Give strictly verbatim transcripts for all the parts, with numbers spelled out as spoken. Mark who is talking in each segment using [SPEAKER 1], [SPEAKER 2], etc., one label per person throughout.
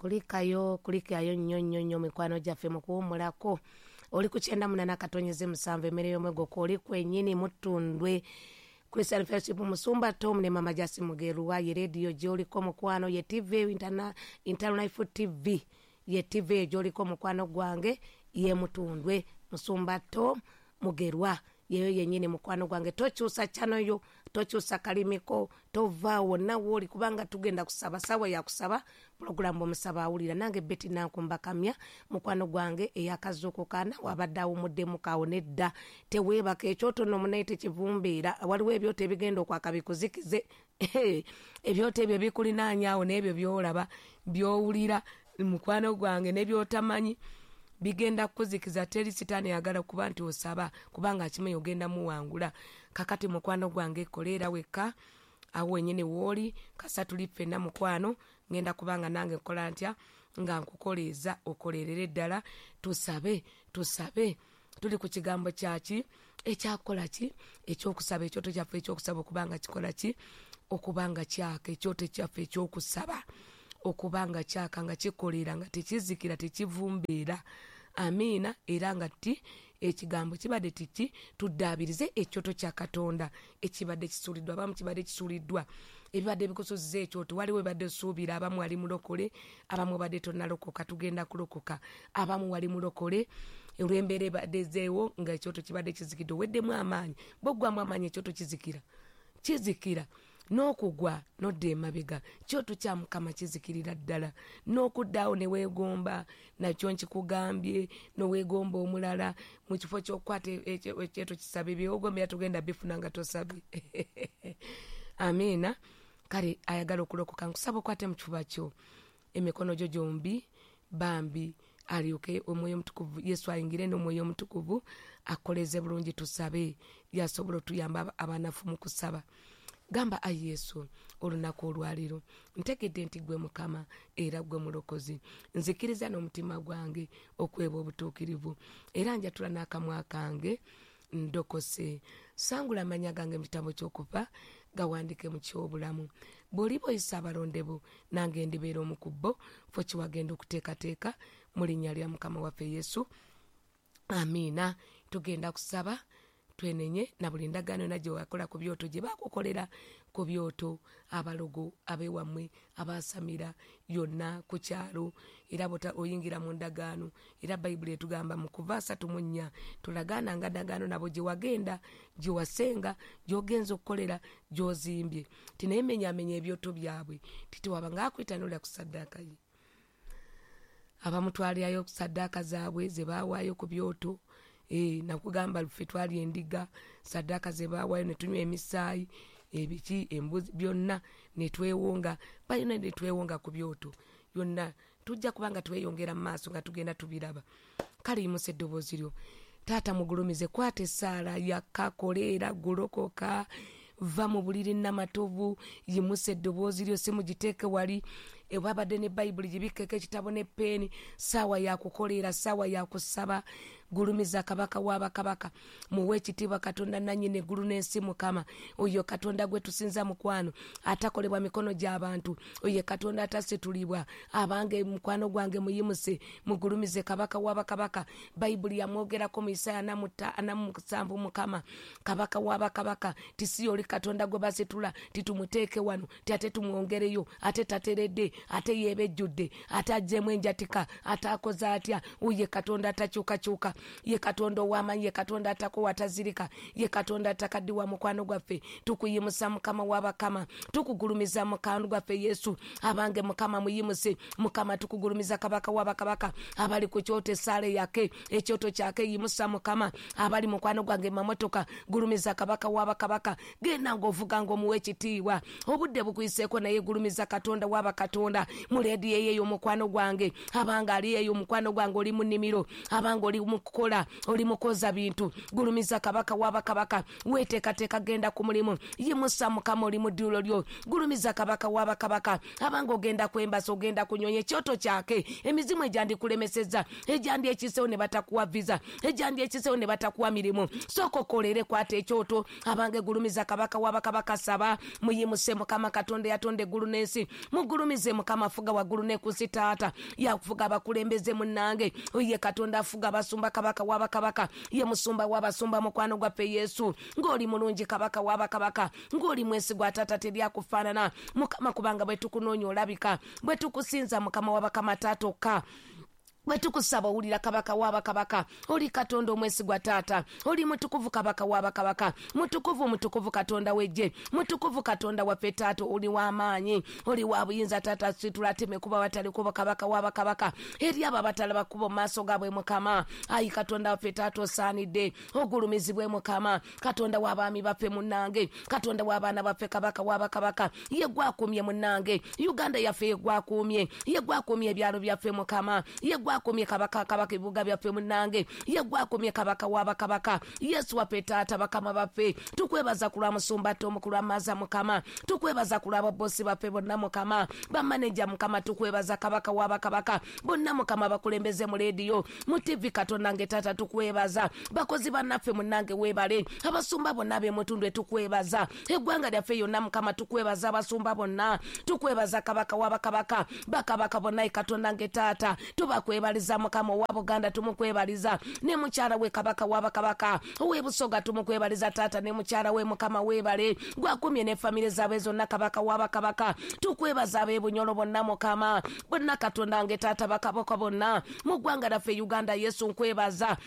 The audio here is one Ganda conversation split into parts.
[SPEAKER 1] Kulikayo, kulikayo nnyo nnyo nnyo mikwano gyaffe mu kuwummulako. Oli ku kyenda munaana katonyeze musanvu emmere y'omwegoko, oli kwennyini Mutundwe Christian Fellowship, Musumba Tom ne Mama Jasi Mugerwa. Ye rediyo gy'oliko mukwano, ye T V Interna-, Internal Life T V, ye T V gy'oliko mukwano gwange, ye Mutundwe Musumba Tom Mugerwa, yeyo yennyini mukwano gwange. Tokyusa channel yo, tokyusa kalimiko, tova wonna w'oli, kubanga tugenda kusaba, sawa ya kusaba, pulogulaamu omusaba awulira. Nange Betty Nankumba Kamya mukwano gwange eyakazuukuka wabadde awumuddemu kaawo nedda, teweebaka, ekyoto nno munaye tekivumbeera, waliwo ebyoto ebigenda okwaka bikuzikize. Ebyoto ebyo bikulinaanya awo n'ebyo by'olaba by'owulira mukwano gwange n'ebyotamanyi bigenda kukuzikiza. Teri sitaani ayagala kuba nti osaba, kubanga akimanyi ogenda muwangula. Kakati mukwano gwange koleera wekka awo wennyini w'oli, kasa tuli ffenna mukwano, ngenda kubanga nange nkola ntya nga nkukoleeza okolerere ddala. Tusabe, tusabe, tuli ku kigambo kyaki ekyakola ki ekyokusaba, ekyoto kyaffe ekyokusaba okubanga kikola ki, okubanga kyaka, ekyoto kyaffe ekyokusaba okubanga kyaka nga kikolera nga tekizikira tekivumbeera. Amiina. Era nga ti ekigambo kibadde tiki, tuddaabirize ekyoto kya Katonda ekibadde kisuuliddwa. Abamu kibadde kisuuliddwa, ebibadde bikusuziza ekyoto, waliwo ebibadde osuubira, abamu wali mulokole, abamu obadde tonnalokoka, tugenda kulokoka, abamu wali mulokole olw'embeera ebadde ezzeewo nga ekyoto kibadde kizikidde, oweddemu amaanyi. Bw'oggwamu amaanyi ekyoto kizikira, kizikira n'okugwa n'odda emabega. Kyoto kya Mukama kizikirira ddala, n'okuddaawo ne weegomba, nakyo nkikugambye, n'oweegomba omulala mu kifo ky'okukwata ekyoto kisabe, by'ogombera togenda bifuna nga tosabye. Amiina. Kale ayagala okulokoka, nkusaba okwate mu kifuba kyo emikono gyo gyombi, bambi alyoke omwoyo omutukuvu Yesu ayingire n'omwoyo omutukuvu akoleze bulungi. Tusabe yasobola otuyamba abanafu mu kusaba. Gamba, ayi Yesu, olunaku olwaleero ntegedde nti ggwe Mukama era ggwe Mulokozi, nzikiriza n'omutima gwange okweba obutuukirivu, era njatula n'akamwa kange ndokose. Sangula amannya gange mu kitabo ky'okufa, gawandike mu ky'obulamu. Bw'oliba oyisa abalondebo, nange ndibeera omu ku bo, ffe kiwagenda okuteekateeka mu linnya lya Mukama waffe Yesu. Amiina. Tugenda kusaba twenenye na buli ndagaano yonna gye wakola ku byoto, gye baakukolera ku byoto, abalogo ab'ewammwe abaasamira yonna ku kyalo, era bw'ota oyingira mu ndagaano. Era Bayibuli etugamba mu kuva asatu mu nnya, tolagaananga ndagaano nabo gye wagenda, gye wasenga, gy'ogenza okukolera, gy'ozimbye, ti naye menyaamenya ebyoto byabwe, ti tewabanga akwita n'olya ku ssaddaaka ye. Abamu twalyayo ku ssaddaaka zaabwe ze baawaayo ku byoto. Eh, nakugamba ffe twali endiga, ssaddaaka ze baawaayo ne tunywa emisaayi, ebiki, embuzi, byonna ne twewonga, balina ne twewonga ku byoto yonna. Tujja kubanga tweyongera mu maaso nga tugenda tubiraba. Kale yimusa eddoboozi lyo, Taata mugulumize, kwata essaala yakka, koleera, gulokoka, va mu buliri namatovu, yimusa eddoboozi lyo, si mugiteeke wali ewabadde ne Bayibuli, gibikkeko ekitabo ne peeni. Ssaawa ya kukoleera, ssaawa ya kusaba. Gulumiza Kabaka w'abakabaka, muwe ekitiibwa Katonda nannyini eggulu n'ensi. Mukama oyo Katonda gwe tusinza mukwano, atakolebwa mikono gy'abantu, oyo Katonda atasitulibwa. Abange mukwano gwange muyimuse, mugulumize Kabaka w'abakabaka. Bayibuli yamwogerako mu Isaaya ana mu musanvu, Mukama Kabaka w'abakabaka, ti si oli Katonda gwe basitula, titumuteeke wano, ti ate tumwongereyo, ate tateredde, ate yeebejjudde, ate aggyemu enjatika, ate akoze atya. Oye Katonda atakyukakyuka, ye Katonda ow'amaanyi, ye Katonda atakowa atazirika, ye Katonda atakaddiwa. Mukwano gwaffe tukuyimusa Mukama w'abakama, tukugulumiza mukwano gwaffe Yesu. Abange Mukama muyimuse, Mukama tukugulumiza Kabaka w'abakabaka. Abali ku kyoto essaala yake, ekyoto kyake, yimusa Mukama. Abali mukwano gwange mamotoka, gulumiza Kabaka w'abakabaka. Genda ng'ovuga ng'omuwa ekitiibwa, obudde bukuyiseeko, naye gulumiza Katonda w'abakatonda. Mu leediyo eyo mukwano gwange, abanga ali eyo mukwano gwange oli mu nnimiro, abanga oli mu kukola, oli mukoza bintu, gulumiza kabaka w'abakabaka. Weteekateeka genda ku mulimu, yimusa Mukama oli mu dduulo lyo, gulumiza kabaka w'abakabaka. Abanga ogenda kwembasa, ogenda kunyonya, ekyoto kyake emizimu egyandikulemesezza, egyandi ekisewo ne batakuwa visa, egyandi ekisewo ne batakuwa mirimu, sooka okolere, kwata ekyoto. Abange gulumiza kabaka w'abakabaka, saba, muyimuse Mukama Katonda yatonda eggulu n'ensi, mugulumize Mukama afuga waggulu ne ku nsi. Taata yakufuga abakulembeze munnange, ye Katonda afuga abasumba, kabaka w'abakabaka, ye musumba w'abasumba, mukwano gwaffe Yesu. Ng'oli mulungi kabaka w'abakabaka, ng'oli mwesigwa taata, teryakufaanana Mukama, kubanga bwe tukunoonya olabika, bwe tukusinza Mukama w'abakama taata okka, bwe tukusaba owulira kabaka w'abakabaka. Oli Katonda omwesigwa taata, oli mutukuvu kabaka w'abakabaka, mutukuvu mutukuvu Katonda w'eggye, mutukuvu Katonda waffe taata, oli w'amaanyi, oli wa buyinza taata, situlateme kuba watali kuba kabaka w'abakabaka eri abo abatalaba kuba mu maaso gaabwe Mukama. Ayi Katonda waffe taata, osaanidde ogulumizibwe Mukama, Katonda w'abaami baffe munnange, Katonda w'abaana baffe, kabaka w'abakabaka, ye gwakuumye munnange, Uganda yaffe ye gwakuumye, ye gwakuumye ebyalo byaffe Mukama, ye gwakumye kabaka kabaka ebibuga byaffe munnange, ye gwakumye kabaka w'abakabaka, Yesu waffe taata, bakama baffe, tukwebaza ku lwa musumba Tomu, ku lwa Maza Mukama, tukwebaza ku lwa babosi baffe bonna Mukama, bamaneja Mukama, tukwebaza kabaka w'abakabaka bonna Mukama, bakulembeze mu leediyo, mu T V, Katonda nge taata, tukwebaza bakozi bannaffe munnange, weebale abasumba bonna ab'emutundwe, tukwebaza eggwanga lyaffe yonna Mukama, tukwebaza abasumba bonna, tukwebaza kabaka w'abakabaka, bakabaka bonna, Katonda nge taata, tubakwebaliza Mukama. Owa Buganda tumukwebaliza ne mukyala we, kabaka w'abakabaka. Ow'ebusoga tumukwebaliza taata ne mukyala we Mukama, weebale gwakumye ne famire zaabwe zonna, kabaka w'abakabaka. Tukwebaza ab'ebunyolo bonna Mukama, bonna Katonda nge taata, bakabaka bonna mu ggwanga lyaffe Uganda. Yesu nkwebaza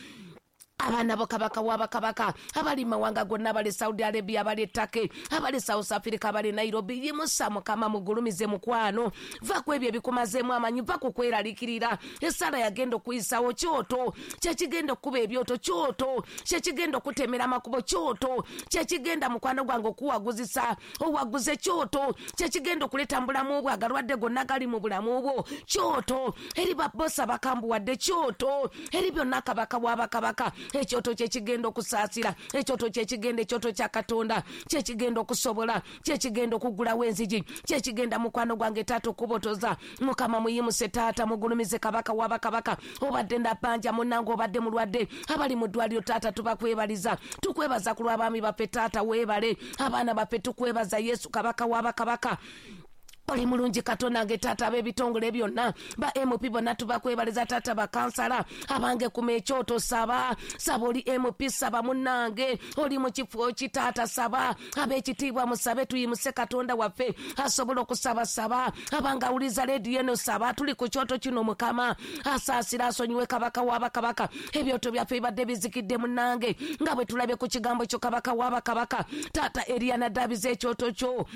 [SPEAKER 1] abaana bo kabaka w'abakabaka abali mu mawanga gonna, abali Saudi Arabia, abali e Turkey, abali South Africa, abali Nairobi. Yimusa Mukama, mugulumize mukwano, va ku ebyo ebikumazeemu amanyi, va ku kweraliikirira. Essala yagenda okuyisawo kyoto, kyekigenda okukuba ebyoto kyoto, kyekigenda okutemera amakubo kyoto, kyekigenda mukwano gwange okuwaguzisa owaguze kyoto, kyekigenda okuleeta mu bulamu bwo agalwadde gonna gali mu bulamu bwo kyoto, eri babosa bakambuwadde kyoto, eri byonna kabaka w'abakabaka. Ekyoto kyekigenda okusaasira, ekyoto kyekigenda, ekyoto kya Katonda kyekigenda okusobola, kyekigenda okuggulawo enzigi, kyekigenda mukwano gwange taata okubotoza. Mukama muyimuse taata, mugulumize kabaka w'abakabaka. Obadde nabbanja munnange, obadde mulwadde, abali mu ddwaliro taata tubakwebaliza, tukwebaza ku lw'abaami baffe taata, weebale abaana baffe, tukwebaza Yesu kabaka w'abakabaka. Oli mulungi Katonda nge taata. Ab'ebitongole byonna, ba M P bonna tubakwebaliza taata, bakansala. Abange kuma ekyoto, saba, saba. Oli M P, saba munnange. Oli mu kifo ki taata, saba. Ab'ekitiibwa musabe, tuyimuse Katonda waffe asobola okusaba. Saba abange, awuliza leediyo eno, saba. Tuli ku kyoto kino, Mukama asaasira asonyiwe kabaka w'abakabaka. Ebyoto byaffe bibadde bizikidde munnange, nga bwe tulabye ku kigambo kyo kabaka w'abakabaka. Taata Eriya nadaabiza ekyoto kyo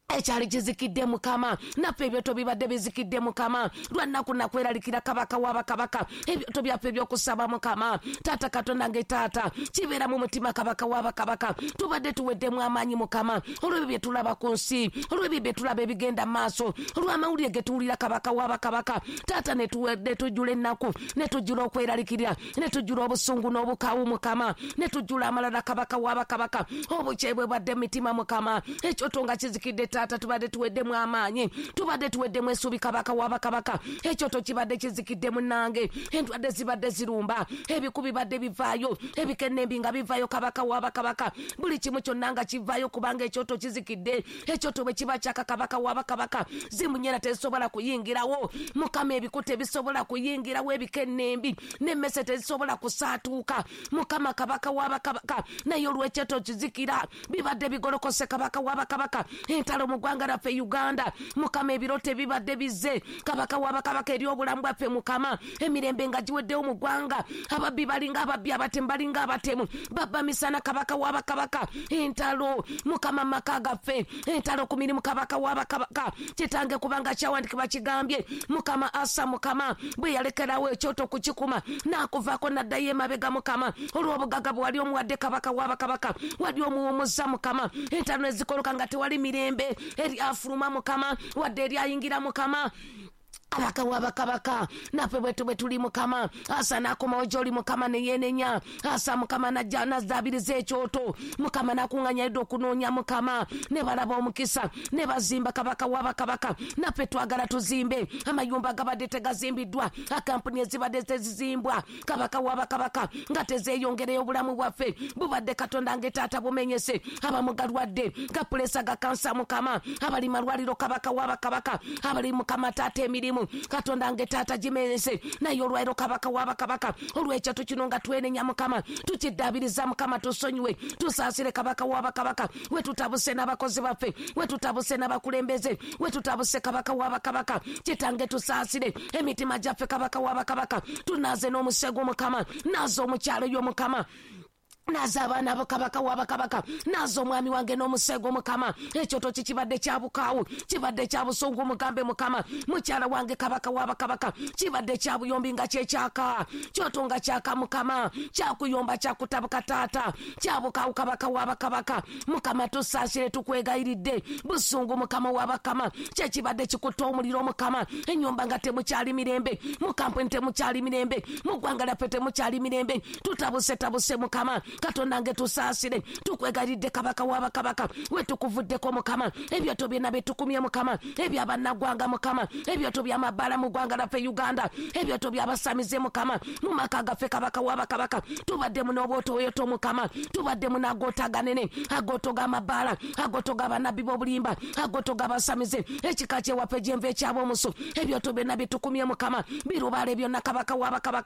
[SPEAKER 1] ekyali kizikidde Mukama, naffe ebyoto bibadde bizikidde Mukama, lwannaku nakweralikira kabaka w'abakabaka. Ebyoto byaffe ebyokusaba Mukama taata, Katonda nge taata, kibeera mu mutima kabaka w'abakabaka. Tubadde tuweddemu amaanyi Mukama, olw'ebyo bye tulaba ku nsi, olw'ebyo bye tulaba ebigenda mu maaso, olw'amawulire ge tuwulira kabaka w'abakabaka taata, ne tujjula ennaku, ne tujjula okweralikirira, ne tujjula obusungu n'obukawu Mukama, ne tujjula amalala kabaka w'abakabaka, obukyayi bwe bwadde mu mitima Mukama. Ekyoto nga kizikidde taata, tubadde tuweddemu amaanyi, tubadde tuweddemu essuubi kabaka w'abakabaka. Ekyoto kibadde kizikidde munnange, endwadde zibadde zirumba, ebiku bibadde bivaayo, ebikenembi nga bivaayo kabaka w'abakabaka, buli kimu kyonna nga kivaayo kubanga ekyoto kizikidde. Ekyoto bwe kiba kyaka kabaka w'abakabaka, zimunyera tezisobola kuyingirawo Mukama, ebiku tebisobola kuyingirawo, ebikenembi n'emmese tezisobola kusaatuuka Mukama kabaka w'abakabaka. Naye olw'ekyoto kizikira, bibadde bigolokose kabaka w'abakabaka. Entalo mu ggwanga lyaffe Uganda Mukama, ebirooto ebibadde bizze kabaka w'abakabaka eri obulamu bwaffe Mukama, emirembe nga giweddewo mu ggwanga, ababbi balinga ababbi, abatemu balinga abatemu, babba misana kabaka w'abakabaka. Entalo Mukama maka gaffe, entalo ku mirimu kabaka w'abakabaka. Kitange, kubanga kyawandikibwa kigambye Mukama, Asa Mukama bwe yalekerawo ekyoto kukikuma n'akuvaako n'addayo emabega Mukama, olw'obugagga bwe wali omuwadde kabaka w'abakabaka, wali omuwumuza Mukama. Entalo ezikoloka nga tewali mirembe eri afuluma Mukama, wadde eri ayingira Mukama. Kabaka w'abakabaka, naffe bwetu bwe tuli Mukama. Asa n'akomawo gy'oli Mukama ne yeenenya. Asa Mukama n'ajja n'azzaabiriza ekyoto Mukama, n'akuŋŋaanya Yuda okunoonya Mukama, ne balaba omukisa ne bazimba. Kabaka w'abakabaka, naffe twagala tuzimbe amayumba gabadde tegazimbiddwa, akampuni ezibadde tezizimbwa, Kabaka w'abakabaka, nga tezeeyongereyo. Obulamu bwaffe bubadde, Katonda nge taata, bumenyese. Abamugalwadde ga puleesa, ga kansa Mukama, abali malwaliro, Kabaka w'abakabaka, abali Mukama taata emirimu, Katonda nge taata, gimenyese. Naye olwaliro, Kabaka w'abakabaka, olwekyoto kino nga twenenya Mukama, tukiddaabiriza Mukama, tusonyiwe, tusaasire Kabaka w'abakabaka, we tutabuse n'abakozi baffe, we tutabuse n'abakulembeze, we tutabuse, Kabaka w'abakabaka. Kitange, tusaasire emitima gyaffe, Kabaka w'abakabaka, tunaaze n'omusego Mukama, naaza omukyalo yo Mukama, naaza abaana bo, Kabaka w'abakabaka, naaza omwami wange n'omusego Mukama. Ekyoto kikibadde kya bukaawu, kibadde kya busungu, mugambe Mukama. Mukyala wange, Kabaka w'abakabaka, kibadde kya buyombi nga kyekyaka kyoto nga kyaka Mukama, kyakuyomba, kyakutabuka taata, kya bukaawu. Kabaka w'abakabaka, Mukama, tusaasire, tukwegayiridde. Busungu, Mukama w'abakama, kyekibadde kikutta omuliro Mukama. Ennyumba nga temukyali mirembe, mu kampuni temukyali mirembe, mu ggwanga lyaffe temukyali mirembe, tutabuse tabuse Mukama. Katonda nge, tusaasire, tukwegayiridde, Kabaka w'abakabaka, wetukuvuddeko Mukama. Ebyoto byonna byetukumye Mukama, ebyabannaggwanga Mukama, ebyoto byamabbala mu ggwanga lyaffe Uganda, ebyoto byabasamize Mukama, mu maka gaffe, Kabaka w'abakabaka, tubaddemu n'obwotoyoto Mukama, tubaddemu n'agooto aganene, agooto g'amabbaala, agooto g'abanabbi b'obulimba, agooto g'abasamize, ekika kyewaffe gyenva ekyab'omusu. Ebyoto byonna byetukumye Mukama, birubaale byonna, Kabaka w'abakabaka.